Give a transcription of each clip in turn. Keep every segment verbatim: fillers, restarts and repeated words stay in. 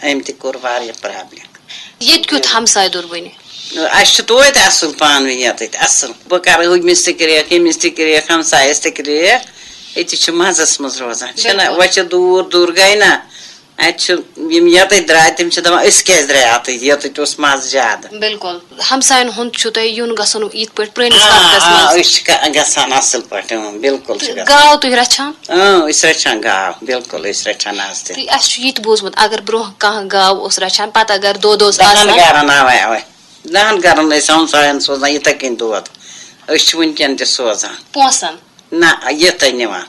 أمۍ تہِ کوٚر واریاہ پرابلم۔ ییٚتہِ کیُتھ ہمساے دوٚر وٕنہِ؟ اَسہِ چھُ توتہِ اَصٕل پانہٕ ؤنۍ یَتٕتھۍ اَصٕل، بہٕ کَرٕ ہُمِس تہِ کرٛیکھ، ییٚمِس تہِ کرٛیکھ، ہمسایَس تہِ کرٛیکھ۔ أتی چھِ مَزَس منٛز روزان، چھِنہ؟ بِلکُل۔ وۄنۍ چھِ دوٗر دوٗر گٔے نہ، اَتہِ چھِ یِم یَتٕتھۍ درٛاے، تِم چھِ دَپان، أسۍ کیٛازِ درٛاے اَتٕتھۍ، یَتٕتھۍ اوس مَزٕ زیادٕ۔ بِلکُل۔ ہمساین ہُنٛد چھُ تۄہہِ یُن گژھُن یِتھ پٲٹھۍ پرٛٲنِس آ، وقتس آ، منٛز؟ أسۍ چھِ گژھان اَصٕل پٲٹھۍ، اۭں، بِلکُل چھِ تہٕ گژھان۔ گاو تُہۍ رچھان؟ اۭں، أسۍ رَچھان گاو، بِلکُل، أسۍ رَچھان نَزدیٖک۔ تہٕ اَسہِ چھُ یہِ تہِ بوٗزمُت، اگر برٛونٛہہ کانٛہہ گاو اوس رچھان، پتہٕ اگر دۄد اوس دَہَن آسان۔ گَرَن، اَوَے، اَوَے۔ دَہَن گَرَن ٲسۍ ہمساین سوزان یِتھَے کٔنۍ دۄد۔ أسۍ چھِ وٕنکٮ۪ن تہِ سوزان۔ پونٛسن؟ نہ، یِتھَے نِوان۔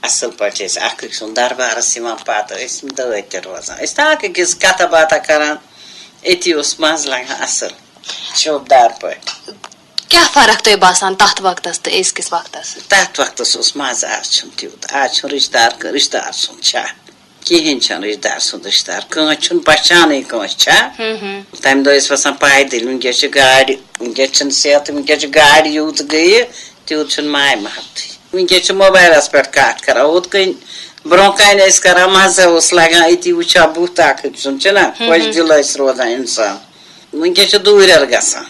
اَصٕل پٲٹھۍ ٲسۍ اَکھ أکۍ سُنٛد دربارَس یِوان، پَتہٕ ٲسۍ دٲدۍ تہِ روزان۔ أسۍ تہٕ اَکھ أکِس کَتھا باتھا کَران، أتی اوس مَزٕ لَگان اَصٕل، شوٗبدار پٲٹھۍ۔ کیٛاہ فرق تۄہہِ باسان تتھ وقتس تہٕ أزکِس وقتس؟ تَتھ وقتَس اوس مَزٕ، آز چھُنہٕ تیوٗت۔ آز چھُنہٕ رِشتہٕ دار، رِشتہٕ دار سُنٛد چھا؟ کِہیٖنۍ چھَنہٕ رِشتہٕ دار سُنٛد رِشتہٕ دار۔ کٲنٛسہِ چھُنہٕ پہچانٕے کٲنٛسہِ، چھا؟ تَمہِ دۄہ ٲسۍ وَسان پایدٔلۍ، وٕنکیٚس چھِ گاڑِ، وٕنکیٚس چھِنہٕ صحت، وٕنکیٚس چھِ گاڑِ یوٗت گٔیہِ، تیوٗت چھُنہٕ ماے محبتٕے۔ وٕنکیٚس چھِ موبایلَس پٮ۪ٹھ کَتھ کَران، ہُتھ کٔنۍ برٛونٛہہ کَنہِ ٲسۍ کَران، مَزٕ اوس لَگان، أتی وٕچھان بُتھ اَکھ أکۍ سُنٛد، چھِنہ؟ خۄش دِل ٲسۍ روزان اِنسان۔ وٕنکیٚس چھِ دوٗرٮ۪ر گژھان۔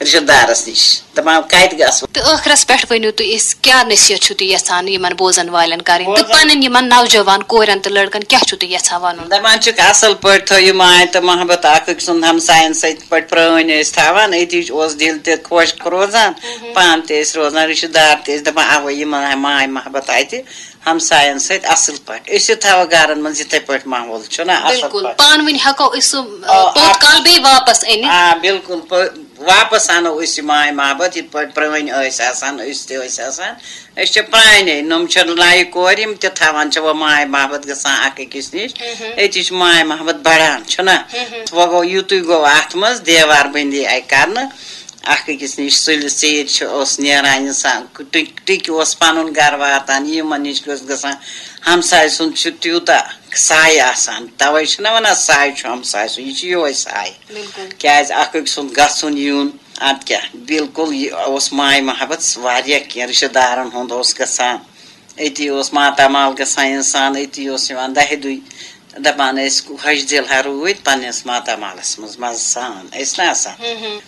رِشتہٕ دارس نِش، دَپان کَتہِ گژھو؟ تہٕ ٲخرس پٮ۪ٹھ ؤنِو تُہۍ، أسۍ کیٛاہ نصیحت چھِو تُہۍ یژھان یِمن بوزن والٮ۪ن کرٕنۍ تہٕ پنٕنۍ یِمن نوجوان کورٮ۪ن تہٕ لڑکن کیٛاہ چھِو تُہۍ یژھان وَنُن؟ دَپان چھِکھ، اَصٕل پٲٹھۍ تھٲیِو ماے تہٕ محبت اَکھ أکۍ سُنٛد، ہمساین سۭتۍ یِتھ پٲٹھۍ پرٛٲنۍ ٲسۍ تھاوان، أتی اوس دِل تہِ خۄش روزان، پانہٕ تہِ ٲسۍ روزان، رِشتہٕ دار تہِ ٲسۍ دَپان، اَوَے یِمن آے ماے محبت اَتہِ۔ ہمساین سۭتۍ اصل پٲٹھۍ۔ أسۍ تہِ تھاوو گرن منٛز یِتھے پٲٹھۍ ماحول، چھُنہ اصل بِلکُل، پٲٹھۍ؟ پانہٕ ؤنۍ ہٮ۪کو أسۍ سُہ، آ، آ، پوٚت کال بیٚیہِ واپس أنِتھ۔ آ، بِلکُل، پٲ-، واپس انو أسۍ یہِ ماے محبت، یِتھ پٲٹھۍ پرٲنۍ ٲسۍ آسان، أسۍ تہِ ٲسۍ آسان۔ أسۍ چھِ پرانے، نۄم چھِ نَیہِ کورِ، یِم تہِ تھاوان چھِ وۄنۍ ماے محبت گژھان اکھ أکِس نِش۔ أتی چھُ ماے محبت بڑان، چھُنہ؟ وۄنۍ گوٚو یِتُے گوٚو اتھ منٛز، دیوار بندی آیہِ کرنہٕ۔ اکھ أکِس نِش سُلہِ ژیٖرۍ چھِ، اوس نیران اِنسان، ٹِک-، ٹِکہِ اوس پَنُن گَرٕ واتان، یِمَن نِش اوس گژھان۔ ہمساے سُنٛد چھُ تیوٗتاہ سایہِ آسان، تَوَے چھِنہ وَنان، سایہِ چھُ ہمساے سُنٛد، یہِ چھُ یِہوٚے سایہِ۔ بِلکُل۔ کیٛازِ اَکھ أکۍ سُنٛد گژھُن یُن، اَدٕ کیٛاہ، بِلکُل یہِ اوس ماے محبت واریاہ کینٛہہ، رِشتہٕ دارَن ہُنٛد اوس گژھان۔ أتی اوس ماتامال گژھان اِنسان، أتی اوس یِوان دَہہِ دُے۔ دَپان ٲسۍ، خۄش دِل ہا روٗدۍ پنٛنِس ماتامالَس منٛز مَزٕ سان۔ ٲسۍ نہ آسان؟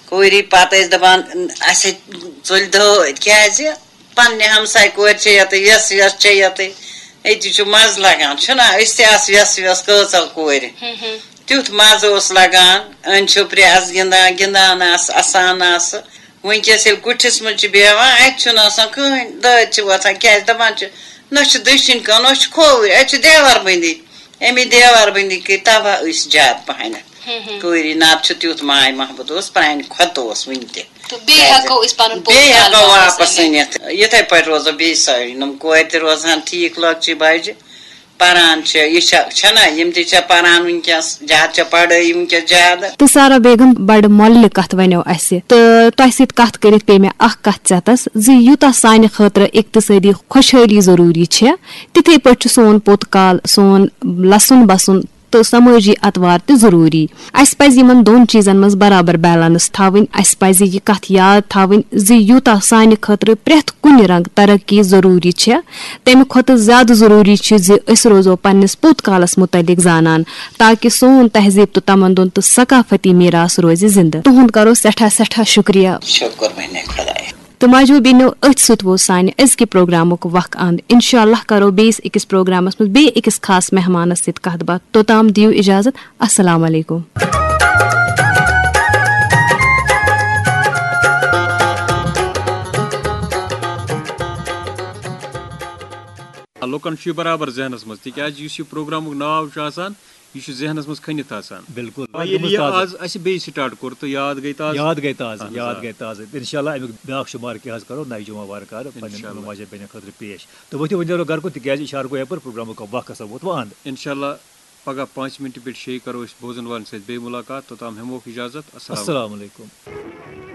کورِ پَتہٕ ٲسۍ دَپان، اَسہِ ہے ژٔلۍ دٲدۍ۔ کیٛازِ؟ پنٛنہِ ہمسایہِ کورِ چھےٚ یَتہٕ وٮ۪س، وٮ۪س چھےٚ یَتٕے۔ أتی چھُ مَزٕ لَگان، چھُنہ؟ أسۍ تہِ آسہٕ وٮ۪س، وٮ۪س کۭژاہ کورِ۔ تیُتھ مَزٕ اوس لَگان۔ أنۍ چھُپرِ آسہٕ گِنٛدان، گِنٛدان آسہٕ، اَسان آسہٕ۔ وٕنکیٚس ییٚلہِ کُٹھِس منٛز چھِ بیٚہوان، اَتہِ چھُنہٕ آسان کٕہٕنۍ، دٲدۍ چھِ وۄتھان، کیٛازِ دَپان چھِ، نہ چھِ دٔچھِنۍ کَن، نہ چھِ کھووٕرۍ، اَتہِ چھِ دیوار بٔنٛدی۔ اَمی دیوار بٔنٛدی کٔرۍ تَباہ أسۍ زیادٕ پَہَنَتھ۔ کٲری نَتہٕ چھُ تیُتھ ماے محبت اوس، پرٛانہِ کھۄتہٕ اوس وٕنہِ تہِ۔ تہٕ بیٚیہِ کیٛازِ؟ ہٮ۪کو أسۍ پَنُن پوٚت بیٚیہِ کال ہٮ۪کو واپس واپَس أنِتھ۔ أنِتھ۔ یِتھَے پٲٹھۍ روزو بیٚیہِ سٲری نۄم کورِ تہِ روزان ٹھیٖک، لۄکچہِ بَجہِ۔ پران چھِ، یہِ چھےٚ، چھےٚ نہ، یِم تہِ چھےٚ پران وٕنکیٚس، زیادٕ چھےٚ پڑھٲے وٕنکیٚس زیادٕ۔ تہٕ سارا بیگم، بڑٕ مۄلہِ کتھ ونیو اسہِ، تہٕ تۄہہِ سۭتۍ کتھ کٔرِتھ پیٚیہِ مےٚ اکھ کتھ ژٮ۪تس زِ یوٗتاہ سانہِ خٲطرٕ اقتصٲدی خۄشحٲلی ضروٗری چھےٚ، تِتھے پٲٹھۍ چھُ سون پوٚت کال، سون لسُن بسُن تہٕ سمٲجی اطوار تہِ ضروٗری۔ اسہِ پزِ یِمن دۄن چیٖزن منٛز برابر بیلنس تھاوٕنۍ۔ اسہِ پزِ یہِ کتھ یاد تھاوٕنۍ زِ یوٗتاہ سانہِ خٲطرٕ پرٛٮ۪تھ کُنہِ رنگہٕ ترقی ضروٗری چھےٚ، تمہِ کھۄتہٕ زیادٕ ضروٗری چھُ زِ أسۍ روزو پننِس پوٚت کالس مُتعلق زانان، تاکہِ سون تہذیٖب تہٕ تمدُن تہٕ ثقافتی میراث روزِ زِندٕ۔ تُہُنٛد کرو سٮ۪ٹھاہ سٮ۪ٹھاہ شُکریہ۔ شُکر بہنہِ خۄدایَس۔ تہٕ ماجہِ بیٚنیو، أتھۍ سۭتۍ ووت سانہِ أزکہِ پروگرامُک وق اند۔ انشاءاللہ کرو بیٚیِس أکِس پروگرامس منٛز بیٚیہِ أکِس خاص مہمانس سۭتۍ کتھ باتھ۔ توٚتام دِیِو اجازت۔ السلام علیکم۔ لُکن چھُ یہِ برابر ذہنس منٛز، تِکیازِ یُس یہِ پروگرامُک ناو چھُ آسان، یہِ چھُ ذہنس منٛز کھٔنِتھ آسان۔ بِلکُل۔ وۄنۍ ییٚلہِ یہِ آز اَسہِ بیٚیہِ سٹارٹ کوٚر تہٕ یاد گٔے تازٕ۔ یاد گٔے تازٕ، اہن حظ، یاد آ۔ گٔے تازٕ۔ انشاءاللہ اَمیُک بیٛاکھ شُمارٕ کیٛاہ حظ کرو نَیہِ جمعہ وارٕ کارٕ پننٮ۪ن انشاءاللہ۔ ماجہِ بیٚنٮ۪ن خٲطرٕ پیش۔ تہٕ ؤتھِو وۄنۍ نیرو گرٕ کُن، تِکیازِ اِشارٕ گوٚو یپٲرۍ، پروگرامُک وق ہسا ووت وۄنۍ اَنٛد۔ انشاءاللہ پگاہ پانٛژِ مِنٹہِ پٮ۪ٹھ شیٚیہِ کرو أسۍ بوزن والٮ۪ن سۭتۍ بیٚیہِ مُلاقات۔ توٚتام ہٮ۪موکھ اِجازت۔ السلام السلام علیکم۔